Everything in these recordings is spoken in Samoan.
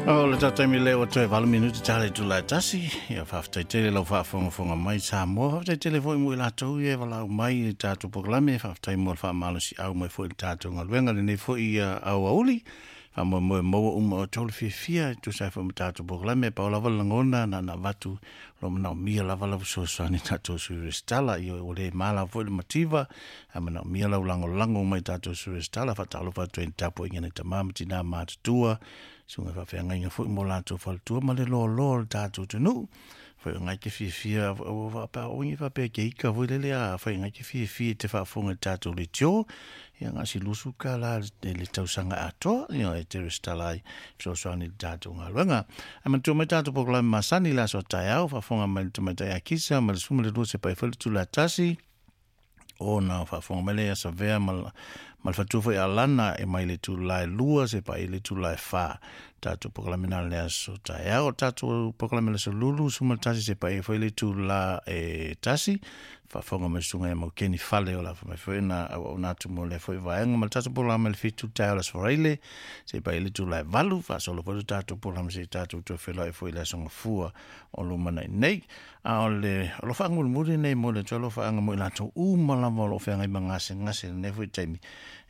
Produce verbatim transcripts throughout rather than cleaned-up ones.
O le tatou le o toe valu minuti tale tula tasi ia faafetai tele lau faafogafoga mai Samoa faafetai tele foi mo i latou ia e valaau mai i le tatou polokalame faafetai mo le faamalosiau mai foi i le tatou galuega lenei foi ia aoauli faamoemoe maua uma o tolu fiafia e tusa ai foi ma tatou polokalame pau lava le lagona na na avatu o lo o manaomia lava lau fesoasoani tatou sui resitala ia ua le ma lava foi le mativa ae manaomia lau lagolago mai tatou sui resitala faatalofa atu ai i le tapuaiga nai tama ma tinā matutua susuga faafeagaiga foi mo latou faletua ma le loaloa o le tatou atunuu foi o ngai te fiafia o faapea ke ika foi lele a foi ngai te fiafia i te faafofoga i le tatou leitio ia gasi lusu ka la le, le tausaga atoa ia e te resitala ai fesoasoani i le tatou galuega ae manatua mai tatou polokalame masani i le aso taeao faafofoga mai le tamaitai akisa ma le sefulu ma le lua se pai foi le tula tasi ona faafofoga mai lea ia Savea ma, ma le faletua foi Alana e mai le itula e lua se pai le itula e fa tatou polokalame na le aso taeao tatou polokalame le aso lulu sefulu ma le tasi se pai foi le itula e tasi faafofoga mai susuga ia Maukeni Fale o la mai foi na auauna atu mo lea foi vaega ma le tatou polokalame le fitu taeao le aso Faraile se pai le itula e valu faasolo foi le tatou polokalame se i tatou toe feiloai foi i le aso Gafua o lumanai nei a o le alofaga mulimuli nei mo le atu alofaaga mo i latou uma lava o lo o feagai ma gasegase lenei foi taimi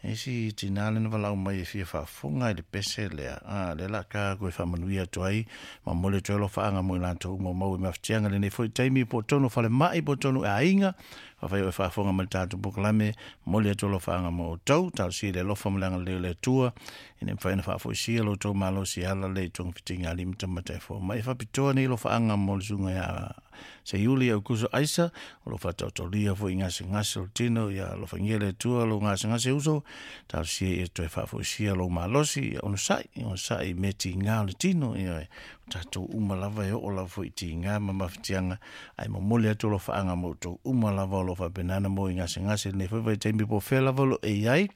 e si tinā lena valaau mai e fia faafofoga i le pese lea a lea la ka koe faamanuia atu ai ma mo le atu alofaaga mo i latou uma o maua i mafatiaga lenei foi taimi po o tonu falemai po o tonu e aiga afai o e faafofoga mai le tatou polokalame momoli atu alofaaga mo outou talosia i le alofa ma le agalelei o le Atua ina ia mafai ona faafoisia lo outou malosi e ala lea i togafitiga a alii ma tamaitai fomai e faapitoa nei alofaaga mo le susuga ia Seiuli Aukuso Aisa o lo o faataotolia foi i gasegase o le tino ia alofagia le Atua lou gasegase uso talosia ia toe faafoisia lou malosi ia onosai onosai i mea tiga o le tino ia o tatou uma lava e oo lava foi i tiga ma mafatiaga ae momoli atu alofaaga mo outou uma lava o lo o faapena mo i gasegase lenei foi vaitaimi po o fea lava o lo o e i ai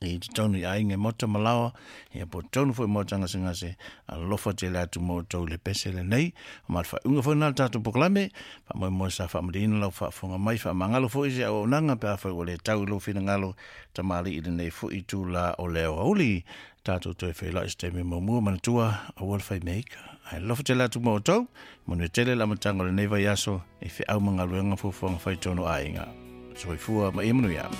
i totonu i aiga e maota ma laoa ia po o totonu foi maota gasegase alofa tele atu mo outou i le pese lenei ma le faaiuga foi lena o le tatou polokalame faamoemoe sa faamalieina lau faafofoga mai faamagalo foi se auaunaga pe afai ua le tau i lou finagalo tamalii lenei foi itula o le aoauli tatou toe feiloai se taimi muamua manatua aua le faimeaika ae alofa tele atu mo outou manuia tele le amataga o lenei vaiaso i feau ma galuega fuafuaga fai tonu aiga soifua ma ia manuia.